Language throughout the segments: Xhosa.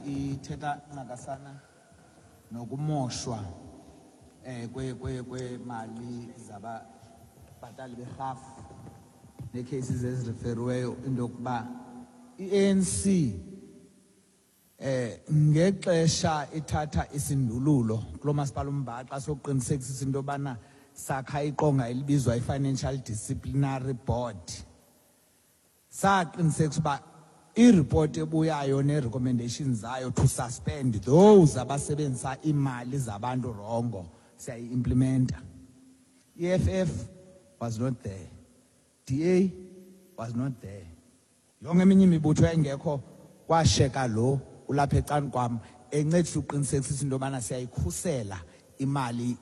Ithetha ncakasana nokumoshwa kwemali zababhatali berhafu nee-cases ezireferiweyo, into yokuba i-ANC ngexesha ithatha isindululo kulo masipala uMbaxa sokuqinisekisa into yobana sakha iqonga elibizwa i-Financial Disciplinary Board, saqinisekisa uba iripoti ebuyayo nee-recommendations zayo to suspend those abasebenzisa iimali zabantu wrong siyayi-implementa. I-EFF was not there, DA was not there, yonke eminye imibutho yayingekho. Kwasheka lo ulapha ecaleni kwam encedisa uqinisekisa into yobana siyayikhusela imali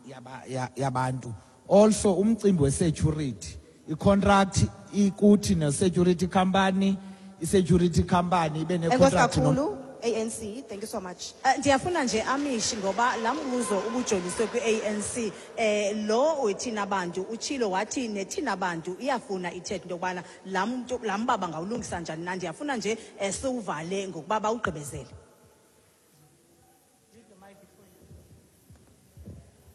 yabantu. Also umcimbi we-security, i-contract ikuthi ne-security company, i-security company ibe Enkosi ne-contract kakhulu, ANC. Thank you so much. Ndiyafuna nje amishi ngoba laa mbuzo ubujoliswe kwi-ANC, lo wethina bantu utshilo wathi nethina bantu iyafuna ithethe into yokubana laa mntu, laa mba bangawulungisa njani na. Ndiyafuna nje siwuvale ngokuba bawugqibezele.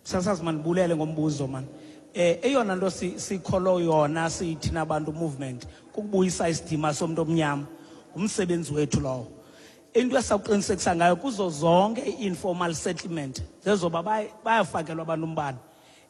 Sasazi, mandibulele ngombuzo man. Eyona nto sikholo yona siyithina bantu movement kukubuyisa isidima somuntu omnyama. Ngumsebenzi wethu lowo. Into esawuqinisekisa ngayo kuzo zonke i-informal settlement zezoba bayafakelwa abantu umbane.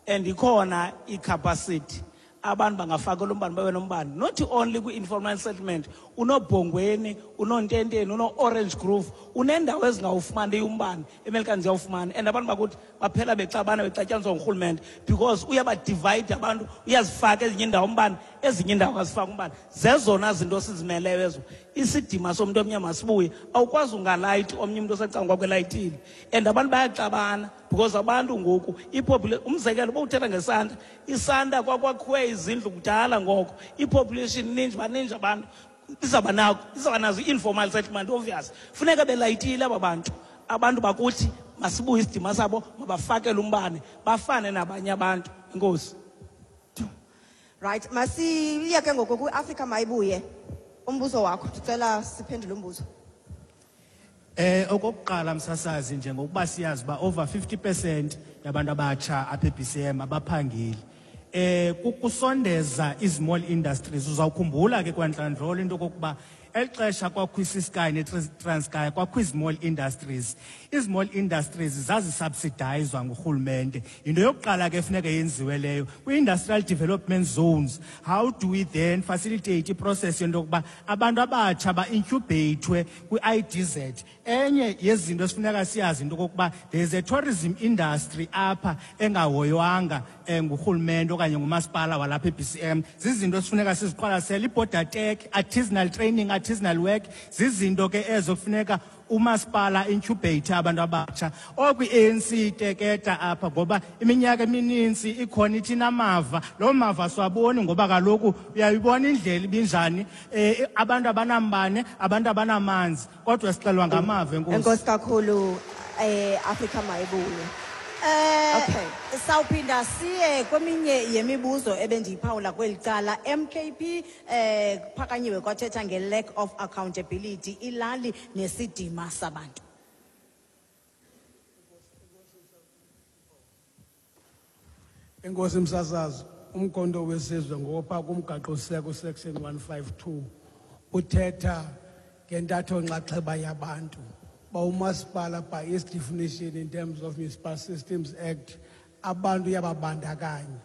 And ikhona i-capacity abantu bangafakelwa umbane, babe nombane. Not only kwi-informal settlement, unoBhongweni, unoNtenteni, uno-Orange Grove, unendawo ezingawufumaniyo umbane, eMelika ziyawufumana. And abantu bakuthi baphela bexabana, bexatyaniswa ngurhulumente because uyabadivide abantu, uyazifaka ezinye iindawo umbane, ezinye iindawo azifaki umbane. Zezona zinto sizimeleyo ezo. Isidima somntu omnyama sibuye. Awukwazi ungalayiti omnye umntu osecaleni kwakho elayitile. And abantu bayaxabana because abantu ngoku umzekelo uba uthetha ngesanta, isanta kwakwakhiwe izindlu kudala ngoko, i-population ininji, baninji abantu, izawuba nako, izawuba nazo i-informal settlement obvious. Funeka belayitile aba bantu. Abantu bakuthi masibuye isidima sabo, mabafakele umbane, bafane nabanye abantu. Enkosi. Right, masiye ke ngoku kwi-Afrika Mayibuye. Umbuzo wakho, ndicela siphendule umbuzo. Okokuqala msasazi, njengokuba siyazi uba over 50% yabantu abatsha apha e-BCM abaphangeli. Kukusondeza i-small industries. Uzawukhumbula ke kwantlandlolo into okokuba eli xesha kwakho i-Ciskei ne-Transkei kwakho i-small industries. I-small industries zazisubsidizwa ngurhulumente. Yinto yokuqala ke funeka yenziwe leyo. Kwi-industrial development zones, how do we then facilitate i-process yento yokuba abantu abatsha ba-incubatwe kwi-IDZ? Enye yezinto esifuneka siyazi into okokuba there is a tourism industry apha engahoywanga ngurhulumente okanye ngumasipala walapha e-BCM. Zizinto esifuneka siziqwalasele. I-border tech, artisanal training, artisanal work, zizinto ke ezo kufuneka umasipala incubate abantu abatsha. Okwi-ANC iteketa apha ngoba iminyaka emininzi ikhona ithi inamava. Loo mava siwaboni ngoba kaloku uyayibona indlela ibinjani, abantu abanambane, abantu abanamanzi, kodwa sixelwa ngamava. Enkosi. Enkosi kakhulu, Afrika Mayibuye. Okay. Sawuphinda siye kweminye yemibuzo ebendiyiphawula kweli cala. MKP, kuphakanyiwe kwathetha nge-lack of accountability, ilali nesidima sabantu. Enkosi msasazi, uMkhonto weSizwe ngopha kumgaqo-siseko section 152 uthetha ngentatho nxaxheba yabantu. Ba umasipala by its definition in terms of Municipal Systems Act abantu uyababandakanya.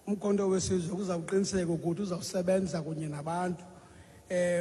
UMkhonto weSizwe uzawuqiniseka ukuthi uzawusebenza kunye nabantu.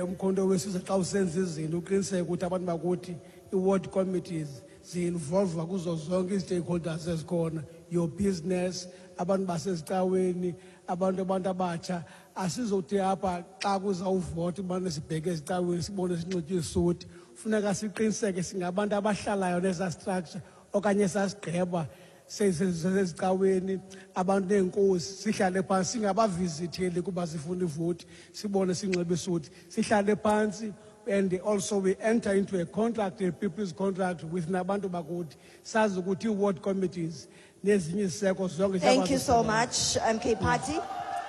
UMkhonto weSizwe xa usenza izinto uqiniseke ukuthi abantu bakuthi i-ward committees zi-involve kuzo zonke i-stakeholders ezikhona, your business, abantu basezicaweni, abantu abatsha. Asizothi apha xa kuzawuvota ubane sibheke ezicaweni sibone sinxitywe isuti. Funeka siqiniseke singabantu abahlalayo neza structure okanye sasigqeba sezicaweni, abantu neenkosi, sihlale phantsi, singabavizitheli kuba sifuna ivoti, sibone sinxibe isuti, sihlale phantsi. And also we enter into a contract, a people's contract with nabantu bakuthi, sazi ukuthi i-ward committees nezinye iziseko zonke Thank you so ziyakwazi much, MK Party.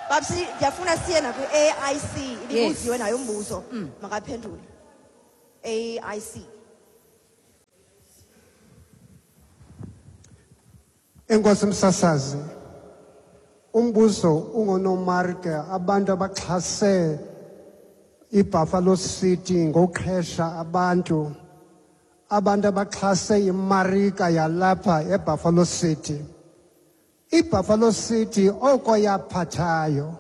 Babsi, ndiyafuna siye nakwi-AIC. Ibibuziwe nayo umbuzo. Makaphendule. AIC. Enkosi msasazi. Umbuzo ungonomarke abantu abaxhase iBuffalo City ngokuqhesha abantu, abantu abaxhase imarika yalapha eBuffalo City. IBuffalo City oko yaphathayo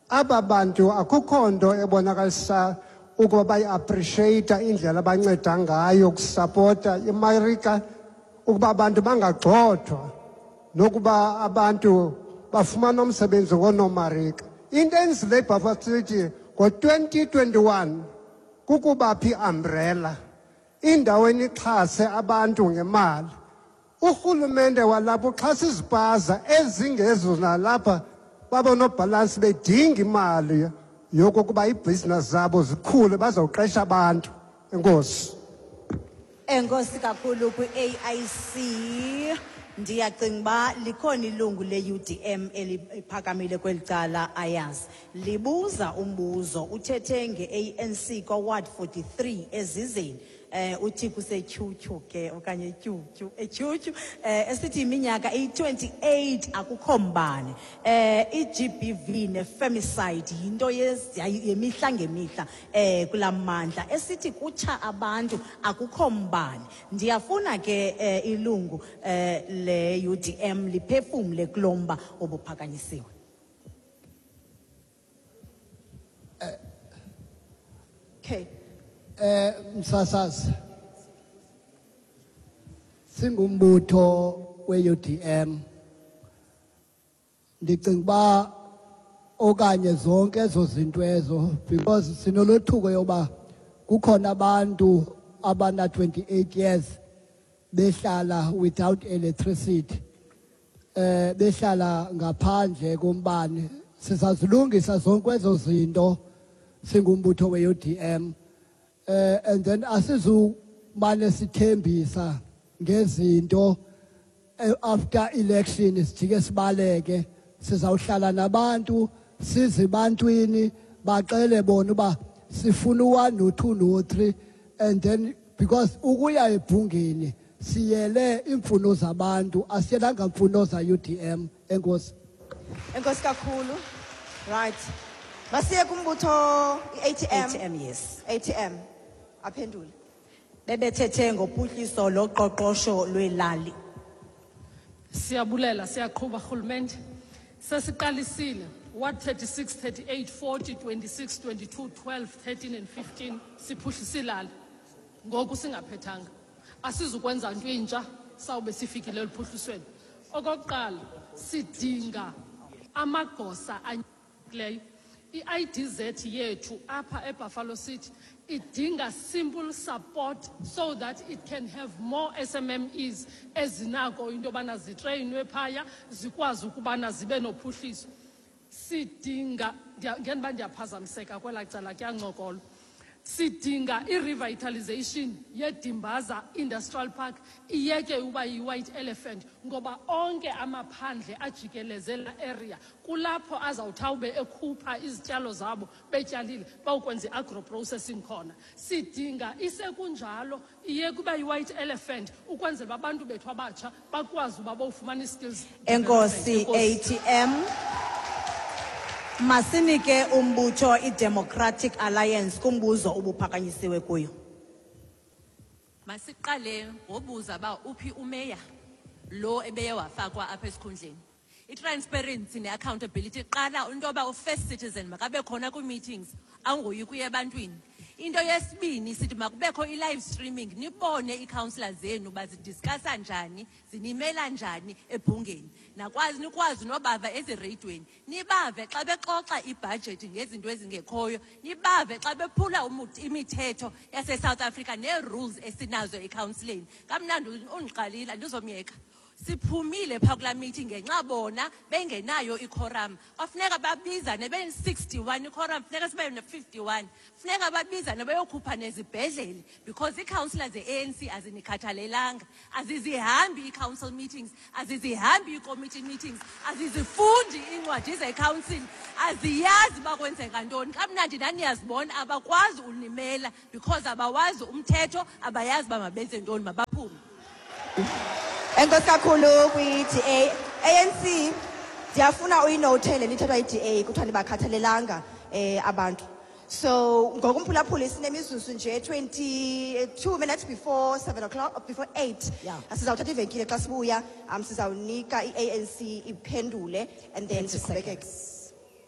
aba bantu akukho nto ebonakalisa ukuba bayi-appreciate indlela abanceda ngayo ukusapota imarika ukuba abantu bangagxothwa nokuba abantu bafumana umsebenzi woonomarika. Into enzile iBuffalo City ngo-2021 kukubapha i-umbrella indawo enixhase abantu ngemali. Urhulumente walapha uxhasa izipaza ezingezo nalapha babonobhalansi bedinga imali yokokuba iibhizinesi zabo zikhule bazawuqesha abantu. Enkosi. Enkosi kakhulu kwi-AIC. Ndiyacinga uba likhona ilungu le-UDM eliphakamile kweli cala ayazi. Libuza umbuzo uthethe nge-ANC kwa-Ward 43 ezizeni. Uthi kusetyhutyhu ke okanye tyhutyhu, etyhutyhu, esithi iminyaka eyi-28 akukho mbane. I-GBV ne-femicide yinto yemihla ngemihla kulaa mmandla, esithi kutsha abantu akukho mbane. Ndiyafuna ke ilungu le-UDM liphefumle kulo mba obuphakanyisiwe. Okay. Msasazi, singumbutho we-UDM, ndicinga uba okanye zonke ezo zinto ezo, because sinolothuko yoba kukhona abantu abana 28 years behlala without electricity, behlala ngaphandle kombane. Sizazilungisa zonke ezo zinto singumbutho we-UDM. And then asizumane sithembisa ngezinto after election sijike sibaleke. Sizawuhlala nabantu sizibantwini baxele bona uba sifuna u-1 no-2 no-3, and then because ukuya ebhungeni siyele iimfuno zabantu, asiyelanga mfuno za UDM. Enkosi. Enkosi kakhulu. Right. Masiye kumbutho i-ATM. ATM, yes. ATM. Aphendule. Bebethethe ngophuhliso loqoqosho lwelali. Siyabulela, siyaqhuba rhulumente. Sesiqalisile. Ward 36, 38, 40, 26, 22, 12, 13 and 15 siphuhlisa ilali. Ngoku singaphethanga. Asizukwenza nto intsha sawube sifikile eluphuhlisweni. Okokuqala sidinga amagosa anyikileyo. I-IDZ yethu apha eBuffalo City idinga simple support so that it can have more SMMEs ezinako into yobana zitreyinwe phaya zikwazi ukubana zibe nophuhliso. Sidinga, ngenba ndiyaphazamiseka kwelaa cala kuyancokolwa. Sidinga i-revitalization yeDimbaza Industrial Park iyeke uba yi-white elephant, ngoba onke amaphandle ajikeleze la area kulapho azawuthawube ekhupha izityalo zabo betyalile bawukwenza i-agro processing khona. Sidinga isekunjalo iyeke uba yi-white elephant ukwenzela uba abantu bethu abatsha bakwazi uba bowufumana i-skills Enkosi, development. Enkosi. ATM. Masinike umbutho iDemocratic Alliance kumbuzo obuphakanyisiwe kuyo. Masiqale ngobuza ba uphi umeya lo ebeye wafakwa apha esikhundleni. I-transparency ne-accountability iqala into yoba u-first citizen makabe khona kwii-meetings, angoyi kuya ebantwini. Into yesibini sithi makubekho i-live streaming, nibone ii-councillors zenu uba zidiscussa njani, zinimela njani ebhungeni. Nakwazi nikwazi nobava ezireyidweni, nibave xa bexoxa ibhajethi ngezinto ezingekhoyo, nibave xa bephula imithetho yaseSouth Africa nee-rules esinazo ekhawunsileni. Kamnandi undiqalile, andizomyeka. Siphumile phaa kulaa meeting ngenxa bona bengenayo iquorum. Kwafuneka babizane be-61 iquorum, funeka sibe ne-51. Funeka babizane bayokhupha nezibhedlele because ii-councillors ze-ANC azinikhathalelanga. Azizihambi ii-council meetings, azizihambi ii-committee meetings, azizifundi iincwadi ze-council, aziyazi uba kwenzeka ntoni. Kamnandi ndaniyazibona abakwazi unimela because abawazi umthetho, abayazi uba mabenze ntoni, mabaphume. Enkosi kakhulu kwi-DA. ANC, ndiyafuna uyinote le nto ithethwa yi-DA, kuthiwa nibakhathalelanga abantu. So ngokumphulaphula sinemizuzu nje 22 minutes before 7 o'clock, before 8. Sizawuthatha ivenkile, xa sibuya sizawunika i-ANC iphendule and then 30 siqhubekeke. Seconds.